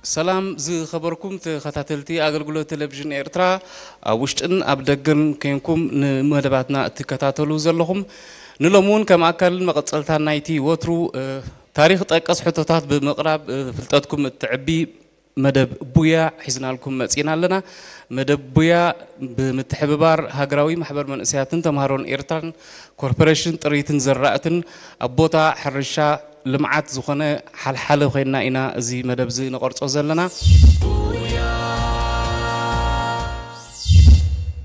ሰላም ዝኸበርኩም ተኸታተልቲ ኣገልግሎት ቴሌቪዥን ኤርትራ፣ ኣብ ውሽጥን ኣብ ደገን ኮንኩም ንመደባትና እትከታተሉ ዘለኹም፣ ንሎሚ እውን ከም ኣካልን መቐጸልታን ናይቲ ወትሩ፣ እ፣ ታሪኽ ጠቀስ ሕቶታት ብምቕራብ፣ እ፣ ፍልጠትኩም እትዕቢ መደብ ቡያ ሒዝናልኩም መጺና ኣለና። መደብ ቡያ ብምትሕብባር ሃገራዊ ማሕበር መንእሰያትን ተምሃሮን ኤርትራን ኮርፖሬሽን ጥሪትን ዘራእትን ኣብ ቦታ ሕርሻ ልምዓት ዝኾነ ሓልሓለ ኮይና ኢና እዚ መደብ እዚ ንቐርጾ ዘለና።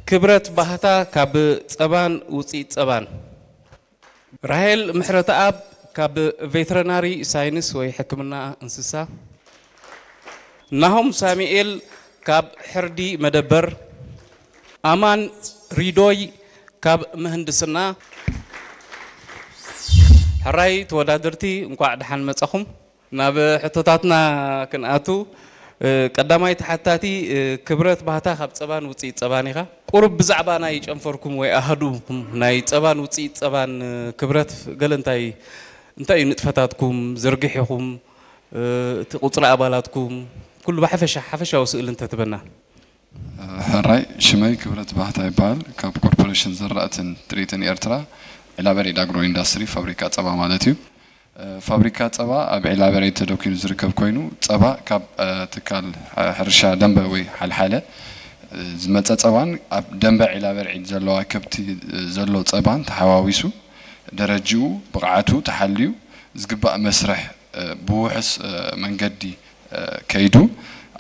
ክብረት ባህታ ካብ ጸባን ውጽኢት ጸባን። ራሄል ምሕረተኣብ ካብ ቬተሪናሪ ሳይንስ ወይ ሕክምና እንስሳ። ናሆም ሳሙኤል ካብ ሕርዲ መደበር። ኣማን ሪዶይ ካብ ምህንድስና። ሕራይ ተወዳደርቲ፣ እንቋዕ ደሓን መጻኹም። ናብ ሕቶታትና ክንኣቱ፣ እ፣ ቀዳማይ ተሓታቲ፣ እ፣ ክብረት ባህታ ካብ ጸባን ውጽኢት ጸባን ኢኻ። ቁሩብ ብዛዕባ ናይ ጨንፈርኩም ወይ ኣሃዱኹም ናይ ጸባን ውጽኢት ጸባን፣ እ፣ ክብረት ገለ እንታይ፣ እንታይ እዩ ንጥፈታትኩም፣ ዝርግሒኹም፣ እ፣ እቲ ቁጽሪ ኣባላትኩም፣ ኩሉ ብሓፈሻ፣ ሓፈሻዊ ስእሊ እንተትበና። ሕራይ፣ ሽመይ ክብረት ባህታ ይበሃል። ካብ ኮርፖሬሽን ዘራእትን ጥሪትን ኤርትራ፣ ዒላበርዒድ ኣግሮ ኢንዳስትሪ፣ ፋብሪካ ጸባ ማለት እዩ። እ፣ ፋብሪካ ጸባ ኣብ ዒላበርዒድ ተደኲኑ ዝርከብ ኮይኑ፣ ጸባ ካብ፣ እ፣ ትካል፣ እ፣ ሕርሻ ደንበ ወይ ሓልሓለ፣ እ፣ ዝመጸ ጸባን ኣብ ደንበ ዒላበርዒድ ዘለዋ ከብቲ፣ እ፣ ዘሎ ጸባን ተሓዋዊሱ፣ ደረጅኡ፣ ብቕዓቱ ተሓልዩ፣ ዝግባእ መስርሕ፣ እ፣ ብውሑስ፣ እ፣ መንገዲ፣ እ፣ ከይዱ፣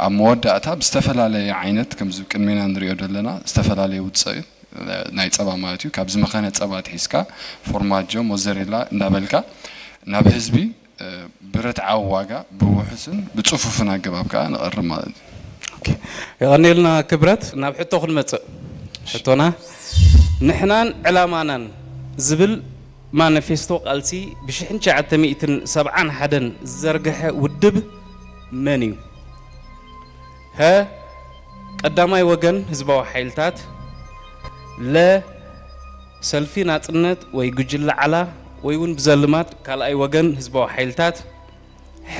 ኣብ መወዳእታ ብዝተፈላለየ ዓይነት፣ ከምዚ ቅድሜና ንሪኦ ዘለና፣ ዝተፈላለየ ውፅኢት፣ እ፣ ናይ ፀባ ማለት እዩ። ካብ ዝመኸነ ፀባ ኣትሒዝካ፣ ፎርማጆ፣ ሞዘሬላ እንዳበልካ ናብ ህዝቢ፣ እ፣ ብርትዓዊ ዋጋ፣ ብውሑስን ብፅፉፍን ኣገባብ ከዓ ነቕርብ ማለት እዩ። ኦኬ። የቐንየልና ክብረት። ናብ ሕቶ ክንመፅእ። ሕቶና፣ ንሕናን ዕላማናን ዝብል ማኒፌስቶ ቃልሲ ብሽሕን ትሽዓተ ሚእትን ሰብዓን ሓደን ዝዘርግሐ ውድብ መን እዩ? ሀ፣ ቀዳማይ ወገን ህዝባዊ ሓይልታት፣ ለ፣ ሰልፊ ናጽነት ወይ ጉጅለ ዓላ ወይ እውን ብዘልማድ ካልኣይ ወገን ህዝባዊ ሓይልታት፣ ሐ፣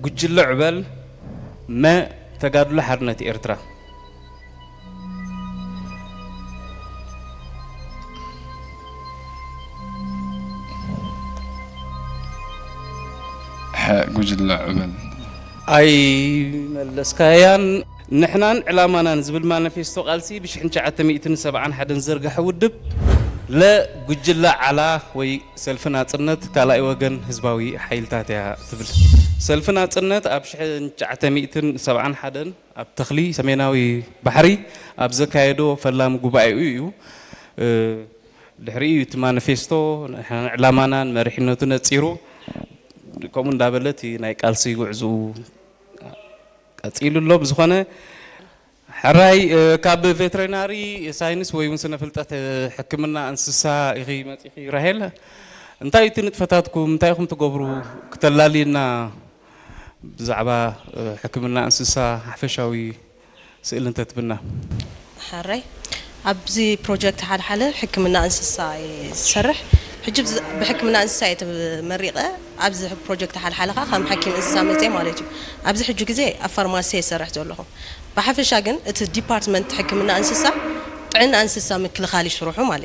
ጉጅለ ዕበል፣ መ፣ ተጋድሎ ሓርነት ኤርትራ። ሐ፣ ጉጅለ ዕበል። ኣይመለስካያን። ንሕናን ዕላማናን ዝብል ማኒፌስቶ ቃልሲ ብሽሕን ትሽዓተ ሚእትን ሰብዓን ሓደን ዝዘርግሐ ውድብ፣ ለ፣ ጉጅለ ዓላ ወይ ሰልፊ ናጽነት ካልኣይ ወገን ህዝባዊ ሓይልታት እያ ትብል። ሰልፊ ናጽነት ኣብ ሽሕን ትሽዓተ ሚእትን ሰብዓን ሓደን ኣብ ተኽሊ ሰሜናዊ ባሕሪ ኣብ ዘካየዶ ፈላሚ ጉባኤኡ እዩ። እ፣ ድሕሪኡ እቲ ማኒፌስቶ ዕላማናን መሪሕነቱ ነጺሩ፣ ከምኡ እንዳበለ እቲ ናይ ቃልሲ ጉዕዝኡ ቀጺሉ ኣሎ። ብዝኾነ፣ ሕራይ፣ እ፣ ካብ ቬተሪናሪ ሳይንስ ወይ እውን ስነ ፍልጠት፣ እ፣ ሕክምና እንስሳ ኢኺ መጺኺ ራሄል። እንታይ እቲ ንጥፈታትኩም፣ እንታይ ኢኹም ትገብሩ? ክተላልየና ብዛዕባ፣ እ፣ ሕክምና እንስሳ ሓፈሻዊ ስእሊ እንተትብና። ሕራይ፣ ኣብዚ ፕሮጀክት ሓልሓለ ሕክምና እንስሳ እየ ዝሰርሕ። ሕጂ ብዝ-፣ ብሕክምና እንስሳ እየ ተመሪቐ። ኣብዚ ፕሮጀክት ሓልሓለ ከዓ ከም ሓኪም እንስሳ መፅየ ማለት እዩ። ኣብዚ ሕጂ ግዜ ኣብ ፋርማሲ እየ ዝሰርሕ ዘለኹ። ብሓፈሻ ግን እቲ ዲፓርትመንት ሕክምና እንስሳ ጥዕና እንስሳ ምክልኻል እዩ ስርሑ ማለት እዩ።